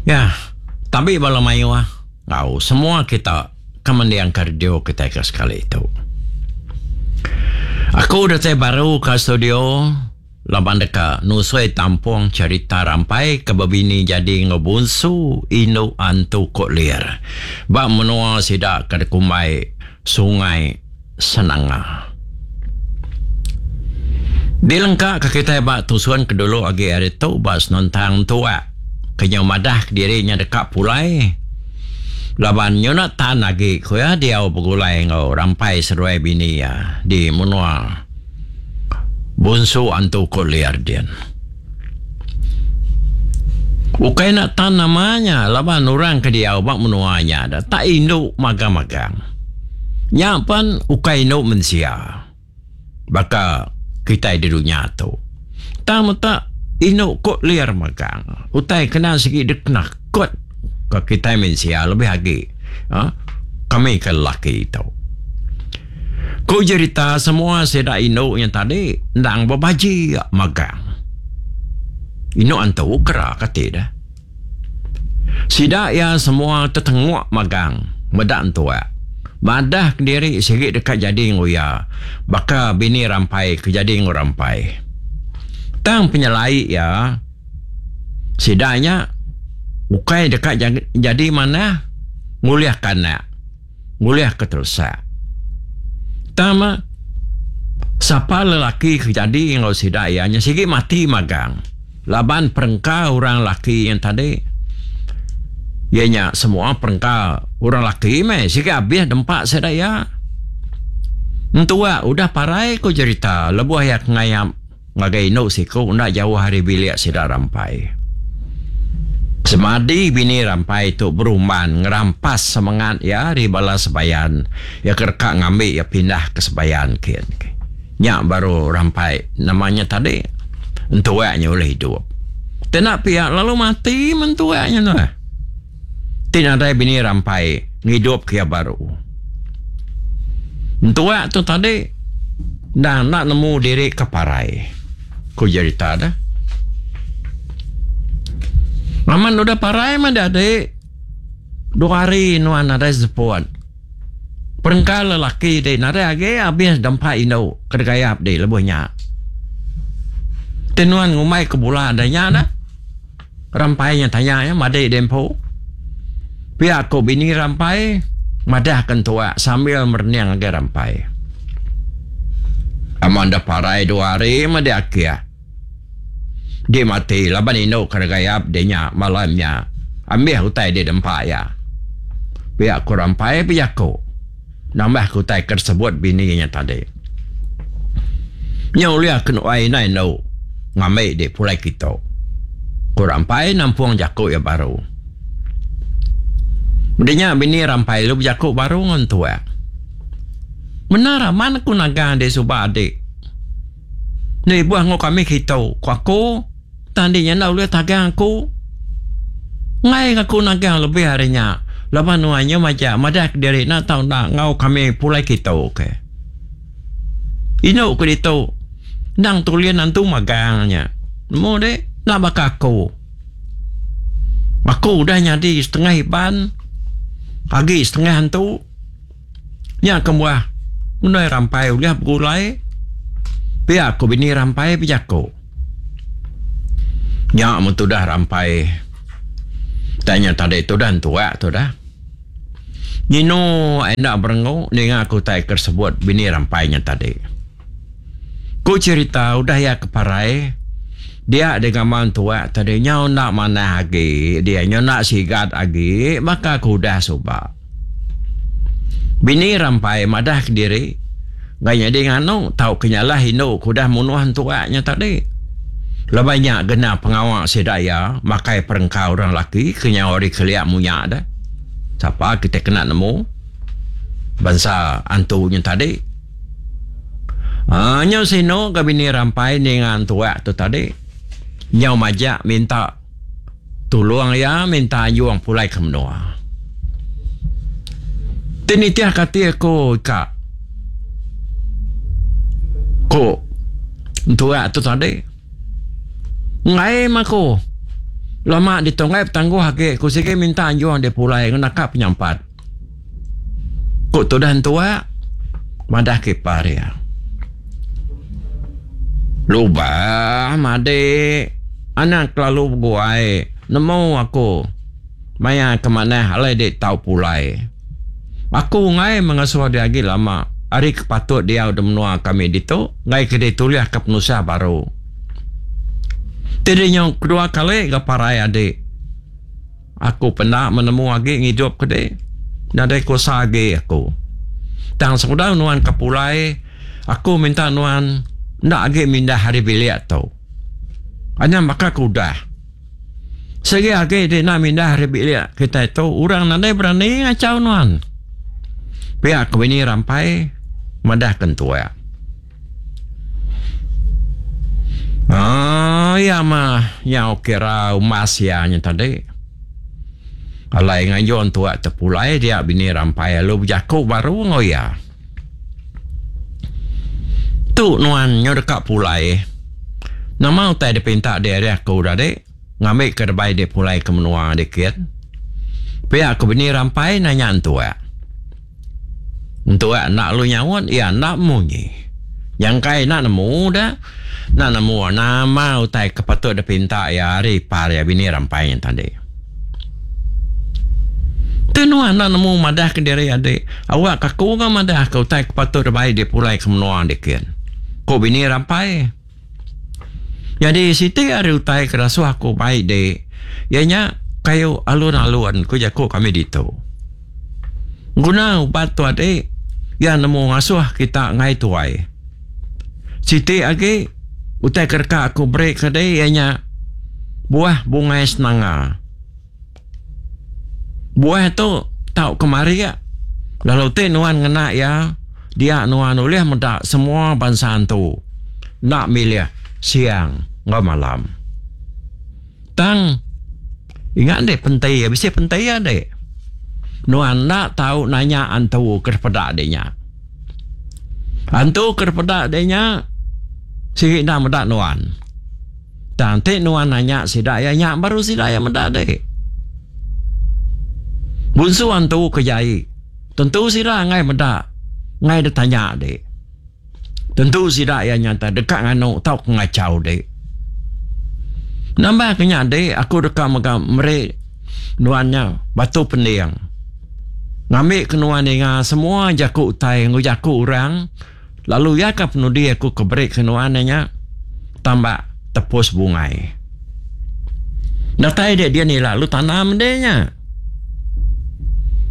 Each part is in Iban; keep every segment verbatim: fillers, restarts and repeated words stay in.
Ya, tabi bala mayuh enggau semua kita ke mendingka radio kitai ke sekali tu. Aku datai baru ke studio laban deka nusui tampung cherita rampai ke bebini jadi enggau bunsu indu antu Kok Lir ba menua sida ke dikumbai Sungai Senanga. Dilengka ke kitai ba tusun ke dulu agi ari tu ba senentang tuak ke nyau madah kediri nya deka pulai laban nyuna tan agi ku iya diau begulai enggau rampai seduai bini iya di menua Bunsu Antu Kok Lir din. Ukai enda tan nama nya laban orang ke diau ba menua nya da tak indu magang-magang. Nya pen ukai indu mensia baka kitai di dunya tu. Tang meta indu Kok Lir magang. Utai kena sigi dikenakut ke kitai mensia lebih agi uhh kami ke lelaki tu. Ku jerita semua sida indu nya tadi endang bebaji magang. Indu antu kera kati deh. Sida iya semua tetenguk magang meda entuak. Madah kediri sigi deka jadi enggau iya baka bini rampai ke jadi enggau rampai. Tang penyelai iya sida nya ukai deka jadi manah ngulihka anak, ngulihka teresak. Tang meh sapa lelaki ke jadi enggau sida iya nya sigi mati magang. Laban perengka orang laki nya tadi iya nya semua perengka orang laki meh sigi abih dempa sida iya. Entua udah parai ku jerita lebuh iya ke ngayap ngagai indu siku enda jauh ari bilik sida Rampai. Semadi bini Rampai tu berumban ngerampas semengat iya ari bala sebayan iya ke deka ngambi iya pindah ke sebayan kin. Nya baru Rampai nama nya tadi entuak nya ulih idup. Ti enda pia lalu mati meh entuak nya tu. Ti nadai bini Rampai ngidup ke iya baru. Entuak tu tadi endang enda nemu diri ke parai, ku jerita deh. Amat udah parai meh dadi dua hari nuan nadai seput. Perengka lelaki ti nadai agi abis dempa indu ke degayap di lebuh nya. Ti nuan ngumbai ke bula da nya dah. Rampai nya tanya iya madi di empu. Pia ku bini Rampai madah ke entua sambil merening agi Rampai. Aman da parai dua hari meh di akih. Di mati laban indu ke degayap di nya malam nya ambih utai di dempa iya. Pia ku Rampai bejaku nambah ke utai ke disebut bini nya tadi. Nya ulih ke nuai indai endu ngambi di pulai kitu, ku Rampai nampung jaku iya baru. Meda nya bini Rampai lalu bejaku baru enggau entuak. Bendar amat aku nagang di suba adi. Enda ibuh enggau kami kitu, ku aku, tang andi nya enda ulih tagang aku. Enggai aku nagang lebih ari nya laban nuan nya majak madah kediri enda tau enda enggau kami pulai kitu ke. Indu ke ditu endang tulin antu magang nya. Nemu deh enda baka aku. Aku udah nyadi setengah Iban agi setengah antu. Nya kebuah undai rampai ulih begulai pia ku bini rampai bejaku. Nya mun tudah rampai tai nya tadi tudah entuak tudah. Nyinu enda berengu ninga ku utai ke disebut bini rampai nya tadi. Ku cherita udah iya ke parai dia digama entuak tadi nyau enda manah agi dia nyau enda sigat agi baka ke udah suba. Bini Rampai madah kediri enggai nyadi nganu tauka nyalah indu ke udah munuh entuak nya tadi. Laban nya gena pengawa sida iya makai perengka orang laki ke nyau ari kelia munya deh. Sapa kitai kena nemu bansa antu nya tadi. Aaa nyau sinu ga bini Rampai ninga entuak tu tadi nyau majak minta. Tulung iya minta anjung pulai ke menua. Ti nitih ke ati aku ika ku entuak tu tadi. Enggai meh aku. Lama ditu enggai betangguh agi ku sigi minta anjung dek pulai enggau naka penyampat. Ku tudah entua madah ke ipar iya. Lubah madik anang kelalu beguai nemu aku maya ke manah alai dek tau pulai. Aku enggai mengasuh dek agi lama ari ke patut diau di menua kami ditu enggai ke ditulih ke penusah baru. Ti dek nyau kedua kali ga parai adik. Aku penda menemu agi ngidup ke dek. Nadai kuasa agi aku. Tang sebedau nuan ke pulai, aku minta nuan enda agi mindah ari bilik tu. Anang baka ke udah. Sigi agi dek enda mindah ari bilik kitai tu, orang nadai berani ngachau nuan. Pia ke bini Rampai madah ke entua. Aaa iya mah nyau kira umbas iya nya tadi. Alai ngayun tua tepulai dia bini Rampai lalu bejaku baru enggau iya. Tu nuan nyau deka pulai. Nama utai dipinta dek ari aku tadi ngambika debai dek pulai ke menua dikit. Pia ku bini Rampai nanya entua. Entua enda lalu nyaut iya enda munyi. Nyangkai enda nemu da enda nemu nama utai ke patut dipinta iya ari ipar iya bini Rampai nya tadi. Ti nuan enda nemu madah ke diri adi awak ke aku ga madah ke utai ke patut dibai dipulai ke menua dikin, ku bini Rampai. Nyadi siti ari utai ke dasuh aku bai di iya nya kayu alun-alun ku jaku kami ditu. Guna ubat tu adi iya nemu ngasuh kita enggai tuai. Siti agi utai ke deka aku beri ke di iya nya buah bungai senanga. Buah tu tau kemarik lalu ti nuan ngena iya dia nuan ulih meda semua bansa antu enda milih siang enggau malam. Tang ingat dik penti bisi penti dik nuan enda tau nanya antu ke dipeda dik nya. Antu ke dipeda dik nya sigi enda meda nuan. Tang enti nuan nanya sida iya nya baru sida iya meda dek. Bunsu antu ke jai tentu sida enggai meda enggai ditanya dek. Tentu sida iya nyata deka nganu tauka ngachau dek. Nambah ke nya dek aku deka mega meri nuan nya batu pending ngambi ke nuan ninga semua jaku utai enggau jaku orang. Lalu iya ka penudi aku ke beri ke nuan iya nya tambak tepus bungai. Datai dia din ila lalu tanam dia nya.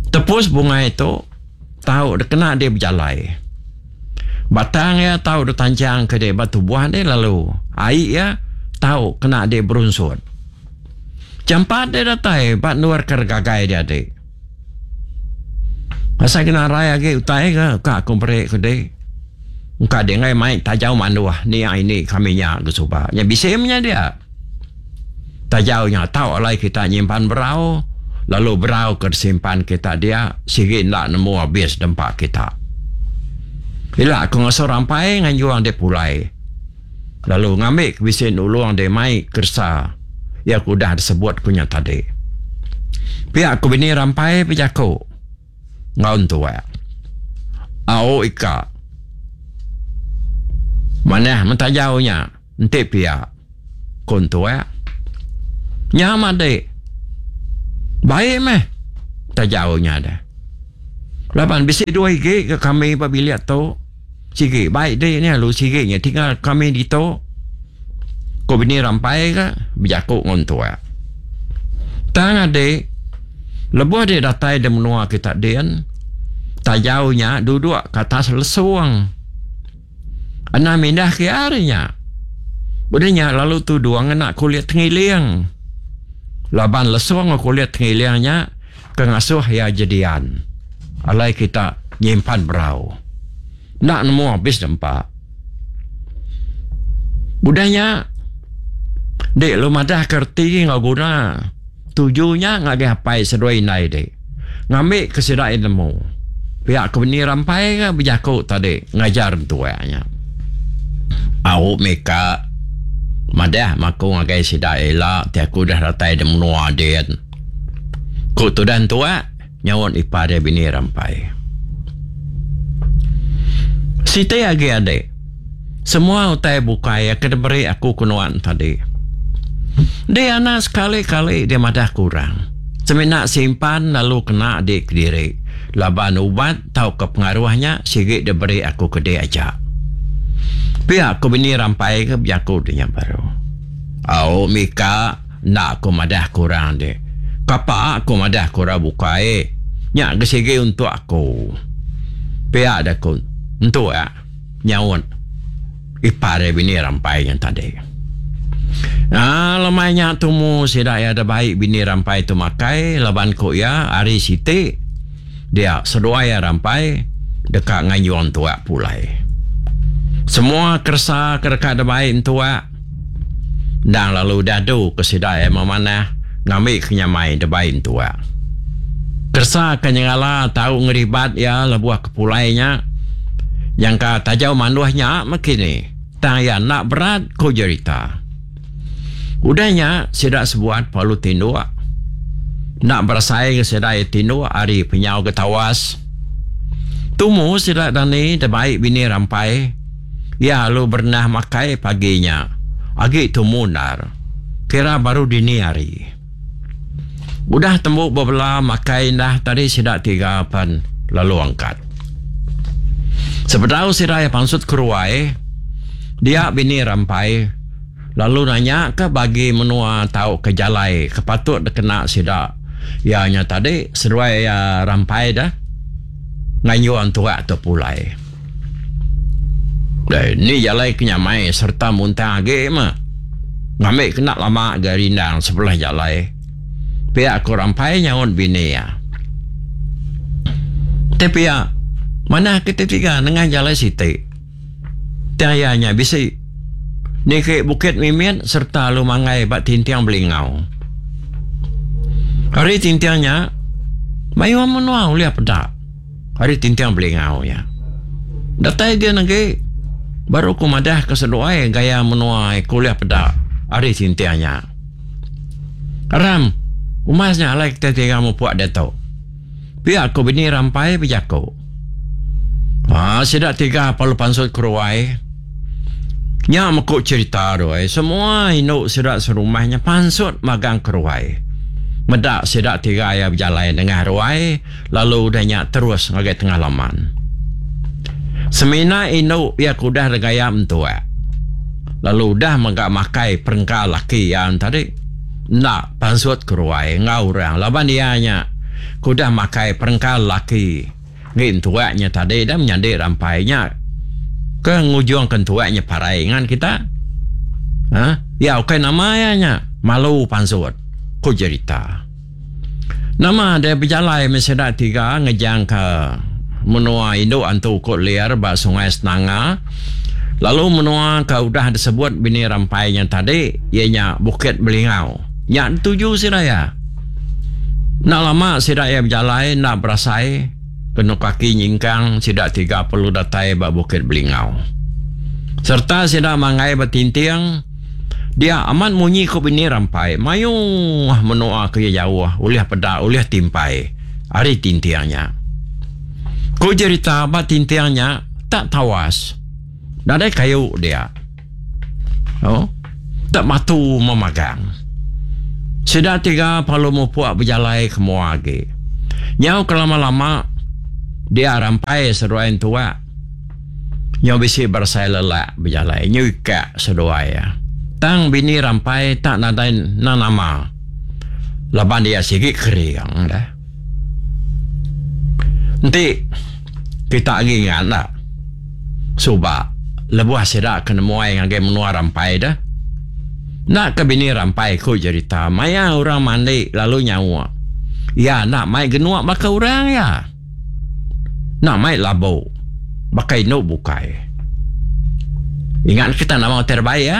Tepus bungai tu tau dikena dia bejalai. Batang iya tau ditanchang ke dia ba tubuh dia lalu ai iya tau kena dia berunsut. Jampat dia datai ba endur ke regagai dia adi. Asai ke narai agi utai ke ka aku meri ke di. Engka di enggai mai tajau manduh nia ini kami nya ke suba. Nya bisi menya dia. Tajau nya tau alai kita nyimpan berau lalu berau ke disimpan kita dia sigi enda nemu abis dempa kita. Ila aku ngasuh rampai nganjung dek pulai lalu ngambi ke bisi nulung dek mai keresa iya ke udah disebut ku nya tadi. Pia ku bini rampai bejaku enggau entua. Au ika. Manah mentajau nya enti pia, ku entua. Nya madi. Baik meh tajau nya deh. Laban bisi dua igi ke kami ba bilik tu. Sigi baik di nya lalu sigi nya tinggal kami ditu. Ku bini rampai ka bejaku enggau entua. Tang adi lebuh di datai di menua kita din tajau nya duduk ke atas lesung. Anang mindah ke iya ari nya. Udah nya lalu tudung ngena kulit tengiling. Laban lesung enggau kulit tengiling nya ke ngasuh iya jedian alai kita nyimpan berau. Enda nemu abis dempa. Udah nya dek lu madah ke reti enggau guna tuju nya ngagai apai seduai indai dek. Ngambi ke sida iya nemu. Pia ke bini rampai ke bejaku tadi ngajar entua nya. Au mika Madah meh aku ngagai sida ila ti aku udah datai di menua din. Ku tudah entua nyaut ipar iya bini Rampai. Siti agi adik. Semua utai bukai ke diberi aku ke nuan tadi. Di anak sekali-kali dia madah ke orang. Semina simpan lalu kena di kediri laban ubat tauka pengaruh nya sigi diberi aku ke dia aja. Pia ku bini Rampai ke bejaku ti nya baru. Au mika enda aku madah ke orang ti. Kapa aku madah ke orang bukai. Nya ke sigi untuk aku. Pia da ku entu iya nyaut ipar iya bini Rampai nya tadi. Aa lemai nya tumu sida iya da bai bini Rampai tu makai laban ku iya hari siti dia seduai iya Rampai deka ngayung tuak pulai. Semua keresa ke deka dibai entua endang lalu diadu ke sida iya memanah ngambi ke nyamai dibai entua. Keresa ke nyengala tau ngeribat iya lebuh ke pulai nya nyangka tajau manduh nya meh kini tang iya enda berat ku jerita. Udah nya sida sebuat perlu tinduk. Enda berasai ke sida iya tinduk ari penyau ke tawas. Tumu sida dani dibai bini Rampai. Iya lalu berenah makai pagi nya. Agi tumu endar. Kira baru dini hari. Udah tembu bebela makai indah tadi sida tiga pan lalu angkat. Sebedau sida iya pansut ke ruai, dia bini Rampai lalu nanya ke bagi menua tauka jalai ke patut dikena sida iya nya tadi seduai iya Rampai dah ngayung tuak tu pulai. Deh, ni jalai ke nyamai sereta muntang agi meh. Ngambi kena lama ga rindang sebelah jalai. Pia ku Rampai nyaut bini iya. Ti pia, manah ke ti tiga nengah jalai siti. Tang iya nya bisi niki bukit mimit sereta lalu manggai ba tinting Belingau. Ari tinting nya, mayuh menua ulih peda. Ari tinting Belingau nya. Datai gin agi baru ku madah ke seduai gaya menua ke ulih peda ari tinting nya. Aram, umas nya alai kitai tiga mupuk diatu. Pia ku bini Rampai bejaku. Haa sida tiga perlu pansut ke ruai. Nya meku cherita tu ai. Semua indu sida serumah nya pansut magang ke ruai. Meda sida tiga iya bejalai nengah ruai lalu udah nya terus ngagai tengah laman. Semina indu iya ke udah regaya entuak lalu udah mega makai perengka laki iya tadi enda pansut ke ruai enggau orang laban iya nya ke udah makai perengka laki. Ngi entuak nya tadi dah menyadi rampai nya ke ngujung ke entuak nya parai ngan kita. Ha? Ya ukai nama iya nya malu pansut, ku jerita. Nama deh bejalai meh sida tiga ngejang ke menua indu antu ku Lir ba Sungai Senanga lalu menua ke udah disebut bini rampai nya tadi iya nya Bukit Belingau. Nya dituju sida iya. Enda lama sida iya bejalai enda berasai kenu kaki nyingkang sida tiga perlu datai ba Bukit Belingau. Sereta sida manggai ba tinting dia amat munyi ku bini Rampai mayuh menua ke iya jauh ulih peda ulih timpai ari tinting nya. Ku jerita ba tinting nya tak tawas nadai kayu dia. Oh, tak batu memagang. Sida tiga perlu mupuk bejalai ke mua agi. Nyau ke lama-lama, dia rampai seduai entuak. Nyau bisi berasai lelak bejalai, nyau ikak seduai iya. Tang bini rampai tak nadai nama laban iya sigi kering dah. Enti kita agi ingat enda, suba lebuh sida ke nemuai ngagai menua Rampai deh. Enda ke bini Rampai ku jerita maya orang mandi lalu nyauk. Iya enda mai genuk baka orang iya. Enda mai labu baka indu bukai. Ingat kita nama utai rebai iya?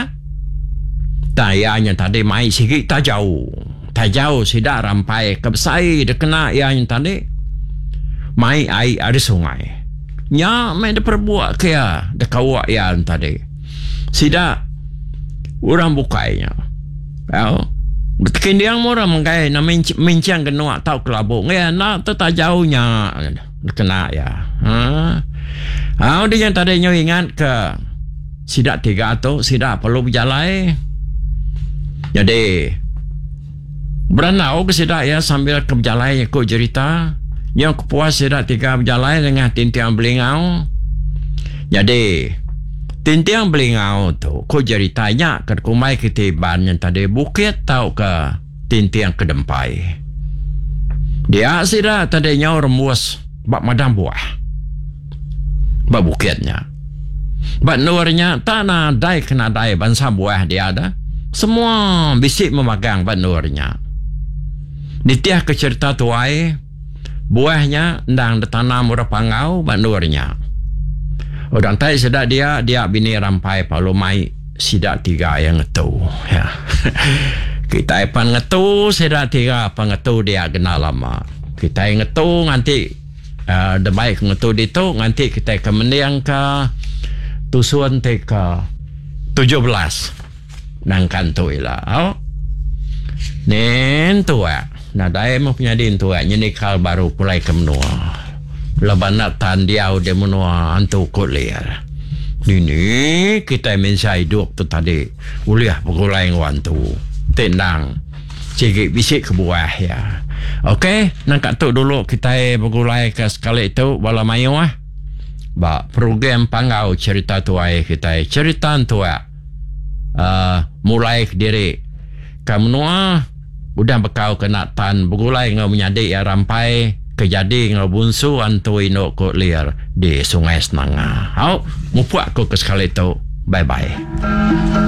Tang iya nya tadi mai sigi tajau. Tajau sida Rampai ke besai dikena iya nya tadi mai ai ari sungai. Nya meh diperebuk ke iya dekauk iya nya tadi. Sida Orang bukai nya. Au. Betekinding meh orang menggai minching genuk tauka kelabuk enggai enda te tajau nya kena iya. Ha. Au dih nya tadi nyau ingat ke sida tiga tu sida perlu bejalai. Nyadi berandau ke sida iya sambil ke bejalai ku jerita nyau kepuas sida tiga bejalai nengah Tinting Belingau. Nyadi Tinting Belingau tu ku jerita nya ke dikumbai kitai Iban nya tadi bukit tauka Tinting Kedempai. Dia sida tadi nyau rembus ba madang buah ba bukit nya. Ba endur nya tak nadai ke nadai bansa buah dia da. Semua bisi memagang ba endur nya. Nitihka cherita tuai, buah nya endang ditanam orang Panggau ba endur nya. Udah entai sida dia, dia bini Rampai Palu mai sida tiga iya ngetu. Kitai pan ngetu sida tiga pan ngetu dia gena lama. Kitai ngetu nganti uhh debai ke ngetu ditu nganti kitai ke mendingka tusun ti ke tujuh belas. Nangkan tu ila au. Nen tuak nadai meh penyadi entuak nyenikal baru pulai ke menua. Laban enda tan diau di menua antu ku lir. Dini kitai mensia idup tu tadi ulih begulai enggau antu ti endang sigi bisi kebuah iya. Ok nangka tu dulu kitai begulai ke sekali tu bala mayuh ba program Panggau Cherita Tuai kitai Cherita Entuak. uhh mulai kediri ka menua udah bekau kena tan begulai enggau menyadi iya Rampai ke jadi enggau Bunsu Antu Indu ku Lir di Sungai Senanga. Au mupuk aku ke sekali tu. Bye bye.